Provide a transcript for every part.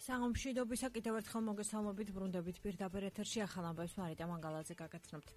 სამშვიდობისა კიდევ ერთხელ მოგესალმებით ბრუნდებით პირდაპირ ეთერში ახალ ამბებს მარიტა მანგალაძე გაგაცნობთ.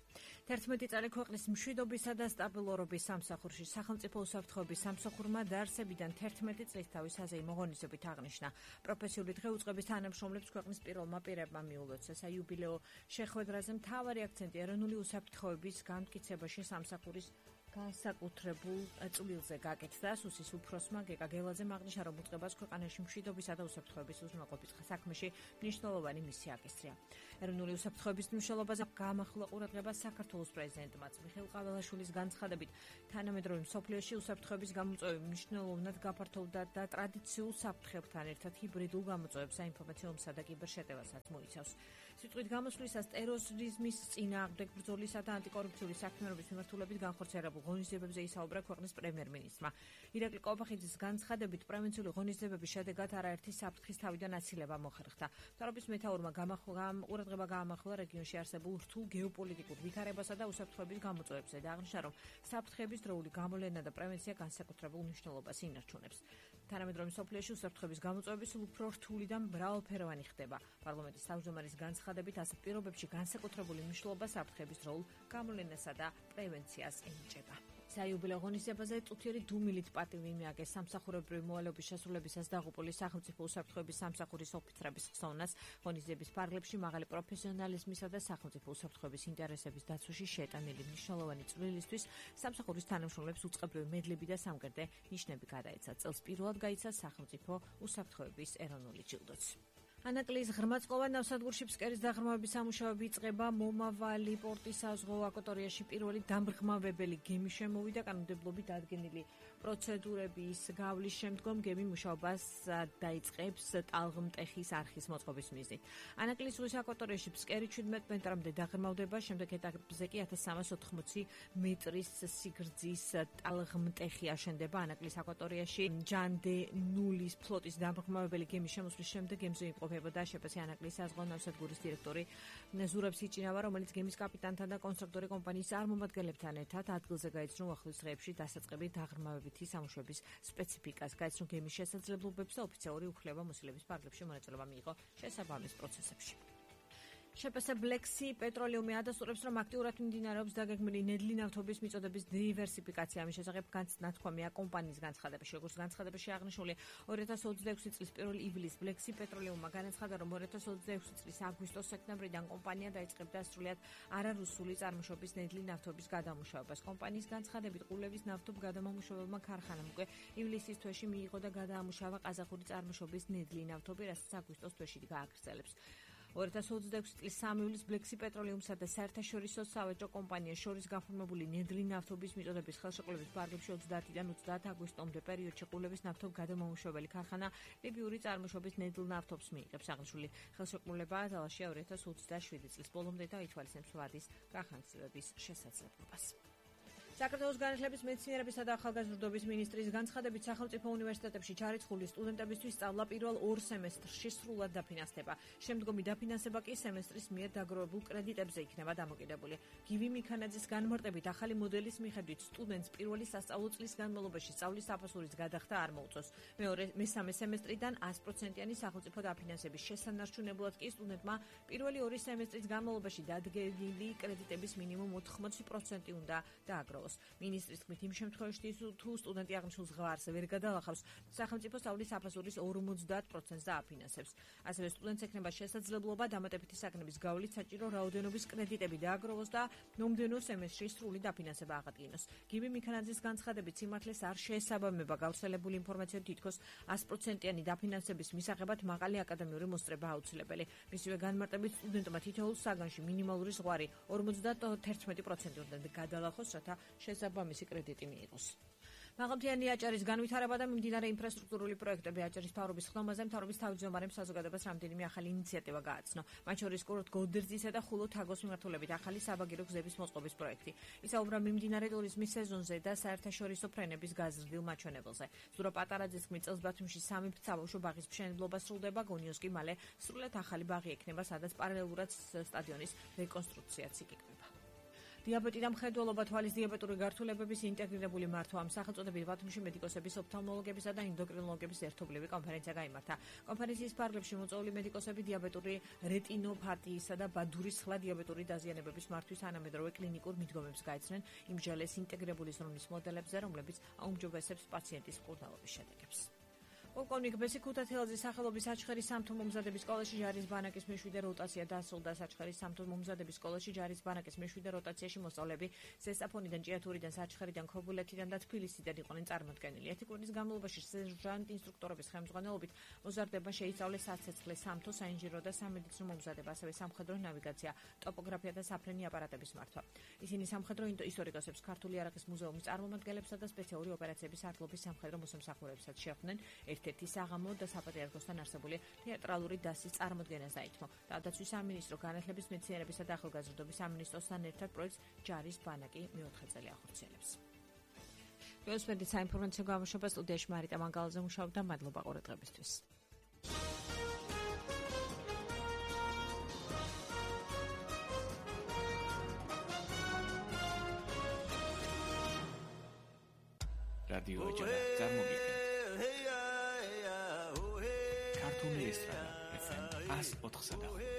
11 წელი ქვეყნის მშვიდობისა და სტაბილურობის სამსახურში სახელმწიფო უსაფრთხოების სამსახურმა დაარსებიდან 11 წლის თავის საზეიმო ღონისძიებით აღნიშნა. პროფესიული დღეუწყების თანამშრომლებს ქვეყნის პირველმა პირებმა მიულოცა საიუბილეო შეხვედრაზე მთავარი აქცენტი ეროვნული უსაფრთხოების განმტკიცებაში სამსახურის განსაკუთრებულ წვლილზე გაკეთდა. სუსის უფროსმა გეკა გელაძემ აღნიშნა, რომ უწყებას ქვეყანაში მშვიდობისა და უსაფრთხოების უზრუნველყოფის საქმეში მნიშვნელოვანი მისია აკისრია. ეროვნული უსაფრთხოების მნიშვნელობაზე გამახვილა ყურადღება საქართველოს პრეზიდენტმაც მიხეილ ყაველაშვილის განცხადებით, თანამედროვე მსოფლიოში უსაფრთხოების გამოწვევები მნიშვნელოვნად გაფართოვდა და ტრადიციულ საფრთხებთან ერთად ჰიბრიდულ გამოწვევებს, საინფორმაციო და კიბერშეტევასაც მოიცავს. სიტყვით გამოსვლისას ტერორიზმის წინააღმდეგ ბრძოლისა და ანტიკორუფციული საქმიანობის მიმართულებით განხორციელებულ ღონისძიებებზე ისაუბრა ქვეყნის პრემიერ-მინისტრმა. ირაკლი კობახიძის განცხადებით, პრევენციული ღონისძიებების შედეგად არაერთი საფრთხის თავიდან აცილება მოხერხდა. მთავრობის მეთაურმა ყურადღება გაამახვილა რეგიონში არსებულ რთულ გეოპოლიტიკურ ვითარებასა და უსაფრთხოების გამოწვევებზე და აღნიშნა, რომ საფრთხების დროული გამოვლენა და პრევენცია განსაკუთრებულ მნიშვნელობას ინარჩუნებს. თანამედროვე მსოფლიოში უსაფრთხოების გამოწვევები სულ უფრო რთული და მრავალფეროვანი ხდება. პარლამენტის თავმჯდომარის განცხადებით, ასეთ პირობებში განსაკუთრებული მნიშვნელობა საფრთხების დროულ გამოვლენასა და პრევენციას ენიჭება. საიუბილეო ღონისძიებაზე წუთიერი დუმილით პატივი მიაგეს სამსახურებრივი მოვალეობის შესრულებისას დაღუპული სახელმწიფო უსაფრთხოების სამსახურის ოფიცრების ხსოვნას. ღონისძიების ფარგლებში მაღალი პროფესიონალიზმისა და სახელმწიფო უსაფრთხოების ინტერესების დაცვაში შეტანილი მნიშვნელოვანი წვლილისთვის სამსახურის თანამშრომლებს უწყებრივი მედლები და სამგერდე ნიშნები გადაეცა. წელს პირველად გაიცა სახელმწიფო უსაფრთხოების ეროვნული ჯილდოც. ანაკლიის ღრმაწყლოვან ნავსადგურში ფსკერის დაღრმავების სამუშაოები იწყება. მომავალი პორტის საზღვაო აკვატორიაში პირველი დამრღმავებელი გემი შემოვიდა. კანონმდებლობით დადგენილი პროცედურების გავლის შემდგომ გემი მუშაობას დაიწყებს ტალღმტეხის არხის მოწყობის მიზნით. ანაკლის ზღვის აკვატორიაში ფსკერი 17 მეტრამდე დაღრმავდება. შემდეგ ეტაპზე კი 1380 მეტრის სიგრძის ტალღმტეხი აშენდება. ანაკლის აკვატორიაში ჯანდე ნულის ფლოტის დამრღმავებელი გემის შემოსვლის შემდეგ გემზე იმყოფება და შეფასე ანაკლის საზღვაო ნავსადგურის დირექტორი ზურაბ სიჭინავა, რომელიც გემის კაპიტანთან და კონსტრუქტორი კომპანიის წარმომადგენლებთან ერთად ადგილზე გაიცნო უახლოეს დღეებში დასაწყები დაღრმავებითი სამუშაოების სპეციფიკას, გაიცნო გემის შესაძლებლობებს და ოფიციალური უფლება-მოსილების ფარგლებში მონაწილეობა მიიღო შესაბამის პროცესებში. შეფასე ბლექსი პეტროლიუმი ადასტურებს, რომ აქტიურად მიმდინარეობს დაგეგმილი ნედლი ნავთობის მიწოდების დივერსიფიკაცია. ამის შესახებ განცნათქვამია კომპანიის განცხადებაში. როგორც განცხადებაში აღნიშნული, 2026 წლის 1 ივლისს ბლექსი პეტროლიუმმა განაცხადა, რომ 2026 წლის აგვისტოს-სექტემბრიდან კომპანია დაიწყებდა სრულიად არარუსული წარმოშობის ნედლი ნავთობის გადამუშავებას. კომპანიის განცხადებით, ყულევის ნავთობგადამამუშავებელმა ქარხანამ უკვე ივლისის თვეში მიიღო და გადაამუშავა ყაზახური წარმოშობის ნედლი ნავთობი, რასაც აგვისტოს თვეში გააგრძელებს. 2026 წლის 3 ივლისს ბლექსი პეტროლიუმსა და საერთაშორისო სავაჭრო კომპანიას შორის გაფორმებული ნედლი ნავთობის მიწოდების ხელშეკრულების ფარგლებში 30-დან 30 აგვისტომდე პერიოდში ყულევის ნავთობგადამამუშავებელი ქარხანა ლიბიური წარმოშობის ნედლ ნავთობს მიიღებს. აღნიშნული ხელშეკრულება ძალაშია 2027 წლის ბოლომდე და ითვალისწინებს ვადის გახანგრძლივების შესაძლებლობას. საქართველოს განათლების, მეცნიერებისა და ახალგაზრდობის მინისტრის განცხადებით, სახელმწიფო უნივერსიტეტებში ჩარიცხული სტუდენტებისთვის სწავლა პირველ 2 სემესტრში სრულად დაფინანსდება. შემდგომი დაფინანსება კი სემესტრის მიერ დაგროვებულ კრედიტებზე იქნება დამოკიდებული. გივი მიქანაძის განმარტებით, ახალი მოდელის მიხედვით სტუდენტს პირველი სასწავლო წლის განმავლობაში სწავლის საფასურის გადახდა არ მოუწევს. მესამე სემესტრიდან 100%-იანი სახელმწიფო დაფინანსების შესანარჩუნებლად კი სტუდენტმა პირველი 2 სემესტრის განმავლობაში დადგენილი კრედიტების მინიმუმ 80% უნდა დააგროვოს. მინისტრის თქმით, იმ შემთხვევაში, თუ სტუდენტი აღნიშნულ ზღვარს ვერ გადალახავს, სახელმწიფო სწავლის საფასურის 50%-ს დააფინანსებს. ასევე სტუდენტს ექნება შესაძლებლობა დამატებითი საგნების გავლით საჭირო რაოდენობის კრედიტები დააგროვოს და მომდევნო სემესტრში სრული დაფინანსება აღადგინოს. გივი მიქანაძის განცხადებით, სიმართლეს არ შეესაბამება გავრცელებული ინფორმაცია, თითქოს 100%-იანი დაფინანსების მისაღებად მაღალი აკადემიური მოსწრება აუცილებელი. მისივე განმარტებით, სტუდენტმა თითოეულ საგანში მინიმალური ზღვარი 51% უნდა გადალახოს, რათა შესაბამისი კრედიტი მიიღოს. მაღალმთიანი აჭარის განვითარება და მიმდინარე ინფრასტრუქტურული პროექტები. აჭარის მთავრობის ხდომაზე მთავრობის თავმჯდომარემ საზოგადოებას რამდენიმე ახალი ინიციატივა გააცნო. მათ შორის გოდერძისა და ხულო-თაგოს მიმართულებით ახალი საბაგირო გზების მოწყობის პროექტი. ისაუბრა მიმდინარე ტურიზმის სეზონზე და საერთაშორისო ფრენების გაზრდილ მაჩვენებელზე. ზურა პატარაძის თქმით, წელს ბათუმში 3 საბავშვო ბაღის მშენებლობა სრულდება, გონიოს კი მალე სრულად ახალი ბაღი ექნება, სადაც პარალელურად სტადიონის რეკონსტრუქციაც იკეთება. დიაბეტი და მხედველობა თვალის დიაბეტური გართულებების ინტეგრირებული მართვა ამ სახელწოდებით ბათუმში მედიკოსების, ოფთალმოლოგებისა და ენდოკრინოლოგების ერთობლივი კონფერენცია გაიმართა. კონფერენციის ფარგლებში მოწვეული მედიკოსები დიაბეტური რეტინოპათიისა და ბადურის სხვა დიაბეტური დაზიანებების მართვის თანამედროვე კლინიკურ მიდგომებს გაეცნენ იმჟელეს ინტეგრირებული ზრუნვის მოდელებზე, რომლებიც აუმჯობესებს პაციენტის მკურნალობის შედეგებს. პოლკოვნიკ ბესი ქუთათელაძის სახელობის საჩხერის სამთო მომზადების სკოლაში ჯარის ბანაკის მეშვიდე როტაცია დასრულდა. საჩხერის სამთო მომზადების სკოლაში ჯარის ბანაკის მეშვიდე როტაციაში მოსწავლეები ზესტაფონიდან, ჭიათურიდან, საჩხერიდან, ქობულეთიდან და თბილისიდან იყვნენ წარმოდგენილი. 1 კვირის განმავლობაში სერჟანტ ინსტრუქტორების ხელმძღვანელობით მოზარდებმა შეისწავლეს საცეცხლე, სამთო, საინჟინრო და სამედიცინო მომზადება, ასევე სამხედრო ნავიგაცია, ტოპოგრაფია და საფრენი აპარატების მართვა. ისინი სამხედრო ისტორიკოსებს, ქართული არახის მუზეუმის წარმომადგენლებსა და სპეციალური ოპერაციების არტლობის სამხედრო მოსამსახურებსაც შეხვდნენ. ერთ-ერთი საღამო და საპატრიარქოსთან არსებული თეატრალური დასის წარმოდგენას დაითმო. თავდაცვის სამინისტრო, განათლების, მეცნიერებისა და ახალგაზრდობის სამინისტროსთან ერთად პროექტს ჯარის ბანაკი მეოთხე წელი ახორციელებს. ველოსპედით საინფორმაციო გამოშვება სტუდიაში მარიტა მანგალაძე მუშაობდა. მადლობა ყურადღებისთვის. რადიო ეჯარა წარმოგიდგენთ ქართული ესტრადა FM 104.5